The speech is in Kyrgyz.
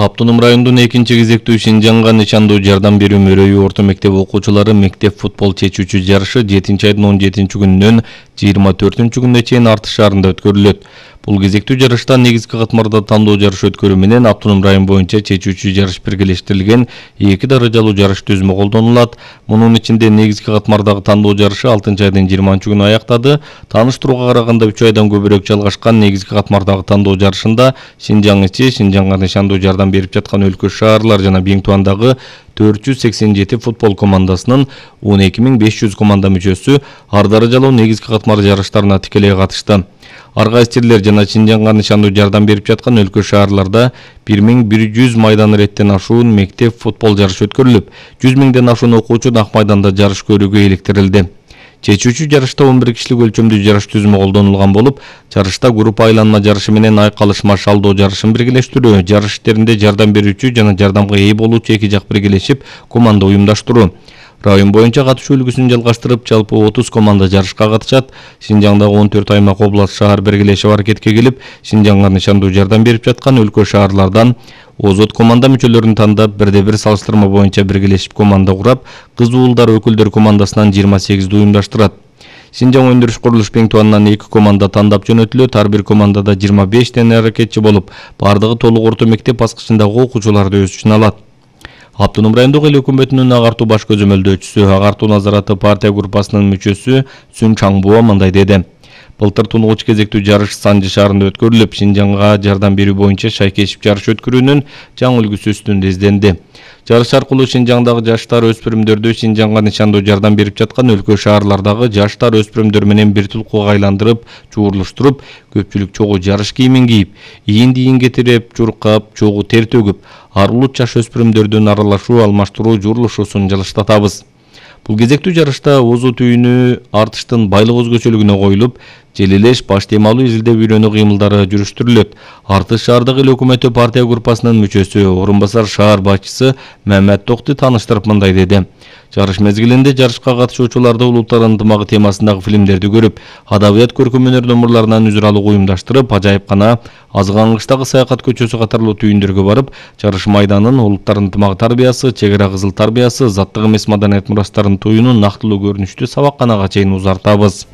Автоном райондун 2-кезектүү Шинжаңга нышандуу жардам берүү мөрөйү орто мектеп окуучулары мектеп футбол чечүүчү жарышы 7-айдын 17-күнүнөн 24-күнүнө чейин Арты шаарында өткөрүлөт. Бул кезектүү жарышта негизги катмарда тандоо жарыш өткөрүү менен автоном район боюнча чечүүчү жарыш биргелештирилген 2 даражалуу жарыш түзмө колдонулат. Мунун ичинде негизги катмардагы тандоо жарышы 6-айдын 20-күнү аяктады. Тааныштырууга караганда 3 айдан көбүрөөк жалгашкан негизги катмардагы тандоо жарышында Шинжаң ичи, Шинжаңга нышандуу жардам берип жаткан өлкө шаарлар жана Биңтуандагы 487 футбол командасынын 12500 команда мүчөсү ар даражалуу негизги катмар жарыштарына тикелей катышты. Ар кайсы жерлер жана Шинжаңга нышандуу жардам берип жаткан өлкө шаарларда 1100 майдан иреттен ашуун мектеп футбол жарышы өткөрүлүп, 100 миңден ашуун окуучу ак майданда жарыш көрүүгө иликтирилди. Чечүүчү жарышта 11 кишилик өлчөмдүү жарыш түзмө колдонулган болуп, жарышта группа айланма жарышы менен айкалышма шалдоо жарышын биргелештирүү, жарыш иштеринде жардам берүүчү жана жардамга ээ болуучу эки жак биргелешип команда уюмдаштыруу. Район боюнча катышуу үлгүсүн жалгаштырып, жалпы 30 команда жарышка катышат. Шинжаңдагы 14 аймак, область, шаар биргелешип аракетке келип, Шинжаңга нышандуу жардам берип жаткан өлкө шаарлардан озот команда мүчөлөрүн тандап, бирде-бир салыштырма боюнча биргелешип команда курап, кыз уулдар өкүлдөр командасынан 28 уюмдаштырат. Шинжаң өндүрүш курулуш Биңтуанынан 2 команда тандап жөнөтүлөт. Ар бир командада 25 аракетчи болуп, бардыгы толук орто мектеп баскычындагы окуучуларды өз ичине алат. Автоном райондук эл өкмөтүнүн агартуу баш көзөмөлдөөчүсү, агартуу назараты партия группасынын мүчөсү Сүн Чаңбуа мындай деди. Былтыр тунугуч кезектүү жарыш Санжы шаарында өткөрүлүп, Шинжаңга жардам берүү боюнча шайкешип жарыш өткөрүүнүн жаңы үлгүсү үстүндө изденди. Жарыш аркылуу Шинжаңдагы жаштар өспүрүмдөрдү Шинжаңга нышандуу жардам берип жаткан өлкө шаарлардагы жаштар өспүрүмдөр менен бир тулкуга айландырып, чуурлуштуруп, көпчүлүк чогуу жарыш кийимин кийип, ийин кетирип, чуркап, чогуу тер төгүп, ар улут жаш өспүрүмдөрдүн аралашуу, алмаштыруу, жуурулушуусун жылыштатабыз. Бул кезектүү жарышта озу түйүнү артыштын байлык өзгөчөлүгүнө коюлуп, желелеш, баш темалуу изилдеп үйрөнүү кыймылдары жүрүштүрүлөт. Артыш шаардык эл өкмөтү партия группасынын мүчөсү, орун басар шаар башчысы Мамат Токти тааныштырып мындай деди. Жарыш мезгилинде жарышка катышуучуларды улуттар ынтымагы темасындагы фильмдерди көрүп, адабият, көркөм өнөр номурларынан үзүр алуу уюмдаштырып, ажайыпкана, Азгангычтагы саякат көчөсү катарлуу түйүндөргө барып, жарыш майданын, улуттар ынтымагы тарбиясы, чек ара кызыл тарбиясы, заттык эмес маданият мурастарын туюунун нактылуу көрүнүштүү сабакканага чейин узартабыз.